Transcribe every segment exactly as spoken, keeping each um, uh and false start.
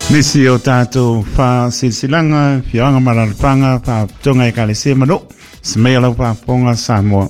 Nisi o tātou whasilsilanga, whianga mararapanga, whaputonga e kalesia manu, smea lau whaponga Samoa.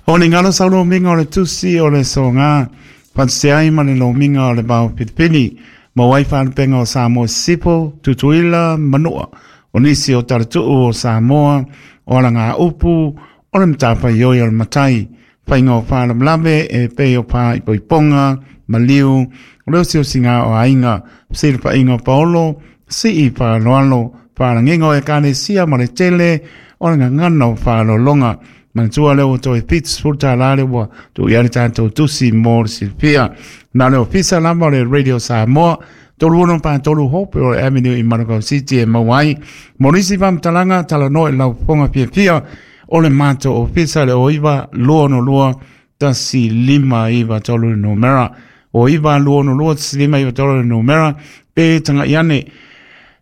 O ni ngalo sau lo minga o le tusi o le songa, whanseai ma le lo minga o le bao pitipini, ma wai whalupenga o Samoa sipo, tutuila, manua. O nisi o taratuu o Samoa, o ala ngā upu, o le mtapa ioi o le matai, whainga o whalamlame e pei o pā ipoiponga, maliu, o leo sio singa o ainga, sila pa inga paolo, si i pa loalo, pa langingo e kane sia ma le tele, o le ngangana o pa lolonga, mantua leo to e pits furta lale wa, tu iari tātou tusi mo le silpia. Nā leo pisa lama o le Radio Samoa, tolu ono pa tolu hope o le Avenue i Manukau City e mauai. Morisi vamtalanga talanoa i lau ponga piapia, o le mato o pisa le oiva lua no lua, tasi lima iwa tolu numera. O iwa lua no lua, tasi lima iwa tolu numera. Pe tanga iane,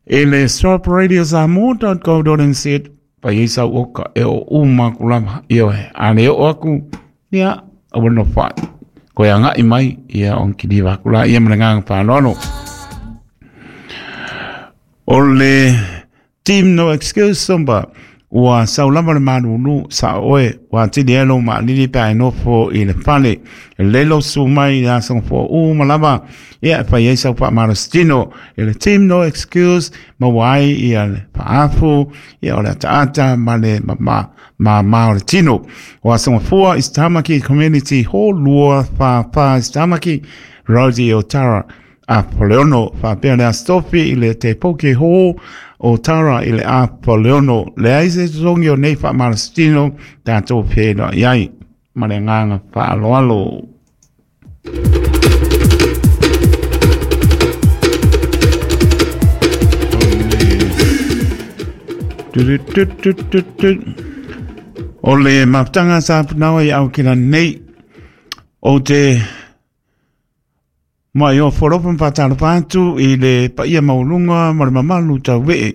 e le stop radio samoa dot co dot n z, pa isa oka e o uma kulama, iyo he, ane o aku, ia, awa no whai. Koe anga i mai, ia onki diwa kula, ia mana nganga whanoano. O le team no excuse somba, ua saulama le manunu sa oe, ua tini elo ma lili pe ai nofo i le fale. Lelo su mai i asong fo u malama, ia pa i sau pa marostino. E le team no excuse, ma wai ia le paafu, ia o le ataata ma le ma ma ma ma o le tino. O asong fua is Tamaki Community Hall, lua fa fa is Tamaki, Rodi o Tara. A Poleono, fa pea le astofi i le te poke hō o Tara i le a Poleono. Le aise tongi o nei wha marastino, tātou pēna iai, ma le nganga whaaloalo. O le maputanga sa punawa i au kila nei, o te mai o foropa whatalapātu i le paia maulunga ma le mamalu tau wee.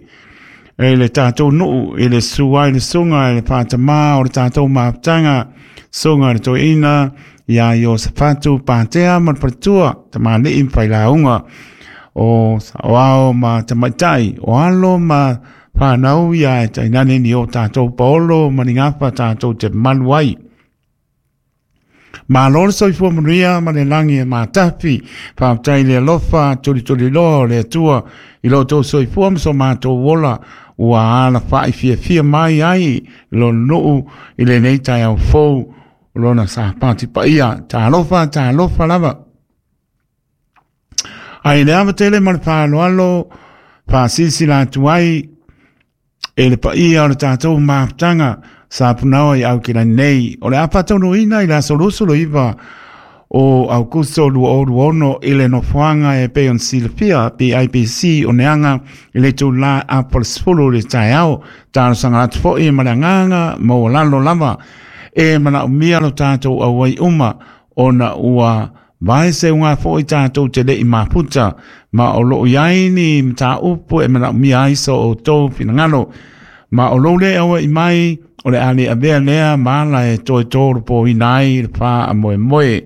E le tātou nuu, i le suai le sunga, i le pātamā o le tātou maputanga, sunga le toina, ia i o sapatu pātea ma le patua, ta māli'i mwhailaunga, o sawao ma tamaitai, o alo ma whanau ia e tainane ni o tātou paolo ma ni ngapa tātou te maluai. Ma lolo soifua manuia ma le langi e mātapi, whaaptai le alofa, tuli tuli loa o le atua, i lo tō soifua ma so mātou ola, ua ala whai fia fia mai ai, lo nuu i le nei tai au fou, lona sa pāti paia, tā alofa, tā alofa lava. Ai le avatele ma le whaaloalo, whaasisi la atu ai, e le paia o le tātou maputanga, sa punawa i au kila nei, o le apatono ina i la solusolo iwa o Augusto lua oru ono i le nofoanga e pe on silapia P I P C o neanga i le tū la apol sfulu le taeao, tālo sanga atu foi ma le anganga ma o lalo lava, e mana umia lo tātou au ai uma, ona ua vai se unga foi tātou te le i maputa, ma o loo iaini mta upu e mana umia aiso o tō pinangalo, ma o lole au i mai, o le ale avea lea maala e toe tōru po inai le pā a moe moe.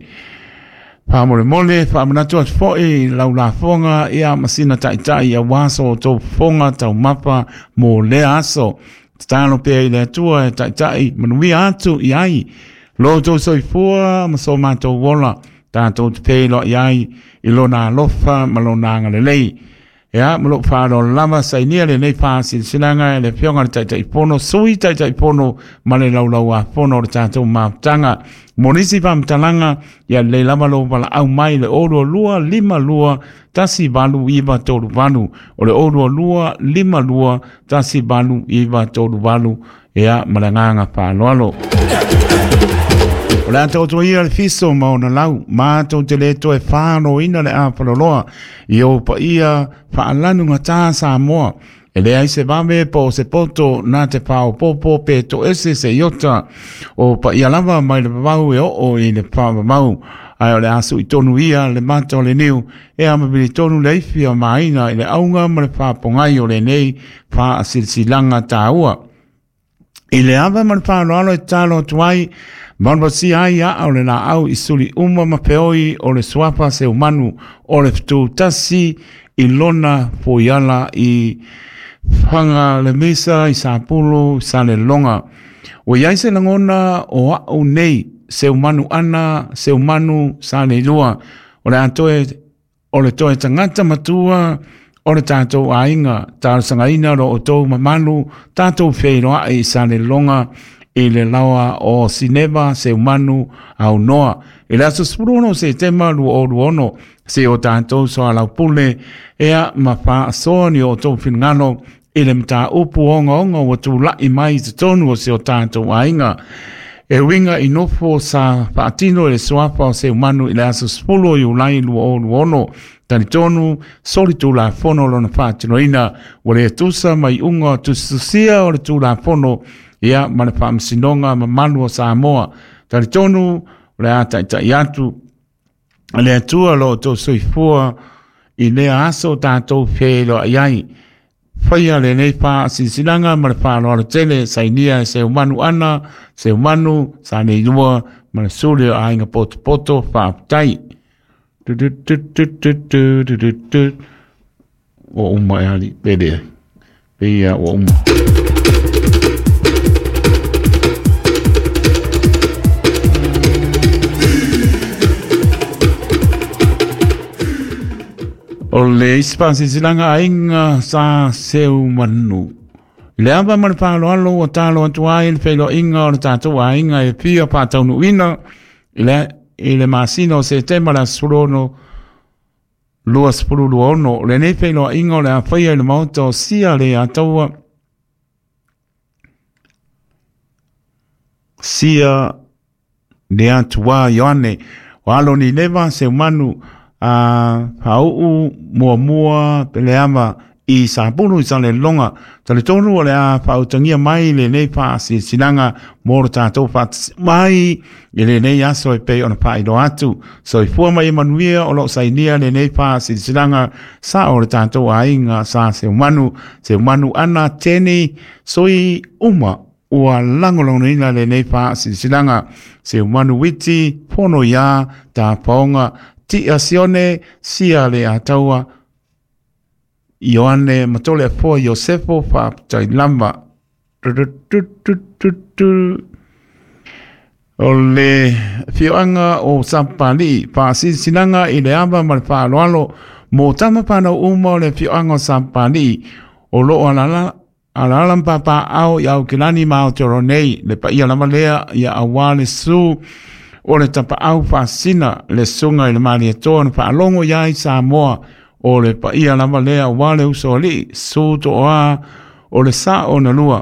Pā mole mole, pā manatu atu foi, lau la fonga, ia masina taitai, ia waso o tō fonga tau mapa mō lea aso. Tatalo pea i le atua e taitai, manuia atu i ai. Lo tō soifua, ma so mātou wola, tātou te pēlo i ai, i lona alofa, ma lona angalelei. Ia, ma loo whaaro lava, sainia le nei whaasisilanga e le whionga le taitai pono, sui taitai pono, ma le laulau a pono o le tātou maputanga. Monisi whamtalanga, ia le lava lo wala au mai le orua lua, lima lua, tasi valu iwa toru valu. O le orua lua, lima lua, tasi valu iwa toru valu. Ia, ma le nganga whaaloalo. O le atoto ia le fiso ma ona lau, mātou te le toe whāno ina le āpaloloa, i o pa ia whaalanu ngā tā Samoa. E le ai se vame po se poto nā te pāo popo pe to ese se iota, o pa ia lava mai le vavau e oo i le pāmamau. Ai o le asu i tonu ia le mata o le niu, e amabili tonu le ifi o maina i le aunga ma le whāpongai o le nei whaasilsilanga tāua. I le ava ma le whāloalo e tālo atu ai, Maunawasi ai a o le la au i suli uma ma peoi o le suapa se umanu o le ftu tasi I lona foiala i whanga le mesa i Sapulo sa le longa. O iai se langona o au nei se umanu ana se umanu sa le lua. O le atoe o le toe tangata matua o le tātou aiga talosagaina lo outou mamalu tatou feiloai i Salelologa i le laoa o Sineva Seumanu aunoa i le aso sefulu ono o Setema lua o lua ono se o tatou soalaupule ea ma faasoa ni o outou finagalo i le mataupu ogaoga ua tula'i mai i totonu o se o tatou aiga. E uiga i nofo sa faatino i le suafa o Seumanu i le aso sefulu o Iulai lua o lua ono talitonu soli tulafono lona faatinoina ua le tusa ma iuga o tusitusia o le tulafono ia ma le faamasinoga mamalu o Samoa. Talitonu o le a taʻitaʻi atu le Atua lo outou soifua i lea aso tatou feiloai ai. Faia lenei faasilasilaga ma le faaaloalo tele sainia e Seumanu ana Seumanu sa nei lua ma le suli o aiga potopoto faafetai. Tu tu tu tu tu tu tu tu tu. Ua uma e ali pele peia ua uma. O le isi faasilasilaga aiga sa Seumanu. I le ava ma le faaaloalo ua talo atu ai le feiloaiga o le tatou aiga e fia faataunuuina i le, i le masina o Setema le aso sefulu ono lua sefulu lua ono. O lenei feiloaiga o le a faia i le maota o Sia le Ataua Sia le Atuā Ioane o alo ni leva Seumanu a faauu muamua peleava i Sapulu i Salelologa. Talitonu o le a faautagia mai lenei faasilasilaga mo le tatou faatasi mai i lenei aso e pei ona faailoa atu. Soifua ma ia manuia o loo sainia lenei faasilasilaga sa o le tatou aiga sa Seumanu Seumanu ana teni sui uma ua lagolagoina lenei faasilasilaga. Seumanu Witi pono iā tapaoga Tia Sione sia le Ataua Ioane Matole Afoa Iosefo faafetai lava. O le fioaga o Sapapalii faasilasilaga i le ava ma le faaaloalo mo tama fanau uma o le fioaga o Sapapalii o loo alala alaala ma papaao i Aukilani ma Aotearoa nei le paia lava lea ia auā le susu o le tapaau faasina le susuga i le Malietoa na faalogo iā i Samoa o le paia lava lea auā le uso alii susu toa o le sao na lua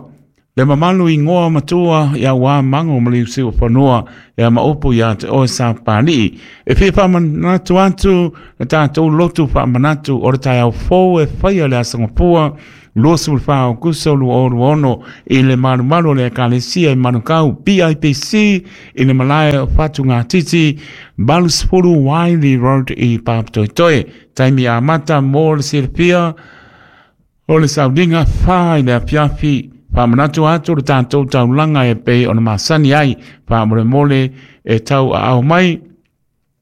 le mamalu igoa matua ia auā mago ma liusiu fanua ia maopu iā te oe Sapapalii. E fia faamanatu atu le tatou lotu faamanatu o le taeao fou e faia le aso Gafua lua sefulu fa o Aukuso lua o lua ono i le malumalu o le Ekalesia i Manukau B I P C i le malae o Fatugatiti valu sefulu Wiley Road i Papatoetoe. Taimi amata mo le silafia o le sauliga fa i le afiafi. Faamanatu atu le tatou taulaga e pei ona masani ai faamolemole e tau aao mai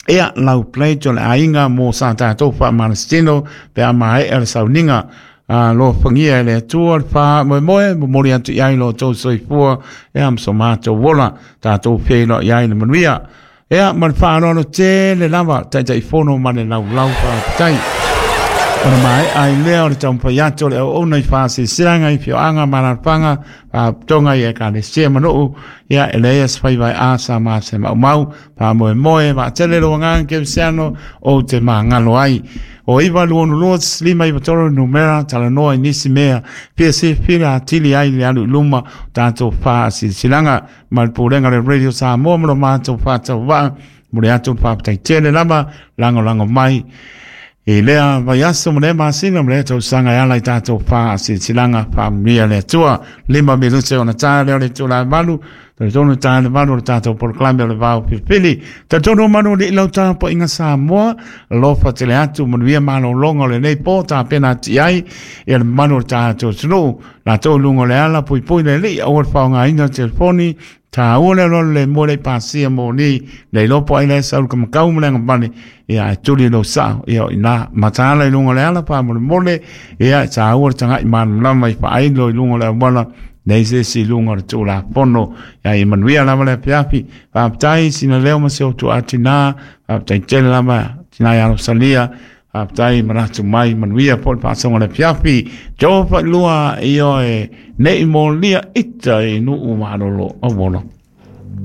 ea lau plate o le aiga mo sa tatou faamalositino pe a maea le sauniga. A lo fangia e le Atua le faamoemoe momoli atu i ai lo outou soifua ea ma so matou ola tatou feiloai ai le manuia ea ma le faaaloalo tele lava taitaifono ma le laulau faafetai. Ona maea ai lea o le taumafai atu o le auauna i faasilasilaga i fioaga ma alaalafaga faapotoga i Ekalesia ma nuu ia e leai se faivaeā sa ma se maumau faamoemoe vaatele lou agaga kerisiano ou te magalo ai. O iva lua ono lua lima iva tolu numera talanoa i nisi mea fia silafia atili ai le alu i luma o tatou faasilasilaga ma le pulega o le Radio Samoa ma lo matou faatauvaa mo le atu le faafetai tele lava lagolago mai i lea vaiaso ma lea masina ma lea tausaga e ala i tatou faasilasilaga faamanuia le Atua. Lima minute ona ta lea o le itula e valu Talitonu ta le malu o le tatou polokalame o le vao filifili. Talitonu manu le ilau tapuaiga Samoa, alofa tele atu manuia malologa o lenei po tapena ati ai ia le mamalu o le tatou atunuu. Latou i luga o le ala puipui le alii aua le faaaogaina o le telefoni. Taua le alualu le mua le pasia moni le iloa ai le sau ka makau ma le agavale ia ae tuli lou sao ia o ina mataala i luga o le ala faamolemole ia taua le tagai malamalama i faailo i luga o le auala nei se isi i luga o le Tulafono. Ia ia manuia lava le afiafi. Faafetai sina leo ma se outou atinā, faafetai tele lava tina ia Rosalia, faafetai manatu mai manuia po le faasoga le afiafi. Jofa lua ioe nei molia ita i nuu malolo auolo.